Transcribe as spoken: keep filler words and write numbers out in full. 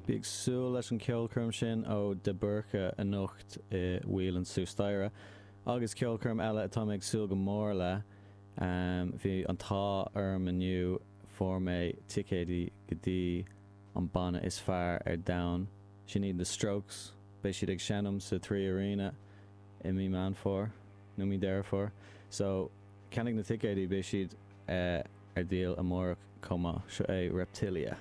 Bí ag súil leis an ceolchoirm sin ó De Búrca anocht i Whelan's suas staighre. Agus ceolchoirm eile atá mé ag súil go mór le um, bhí an t-ádh orm inniu fuair mé ticéidí go dtí an banna is fearr ar domhan. Sin iad The Strokes, beidh siad ag seinm sa Three Arena i mí Meán Fómhair nó mí Deireadh Fómhair. So ceannaigh na ticéidí beidh siad uh, ar díol amárach chomh maith seo é Reptilia.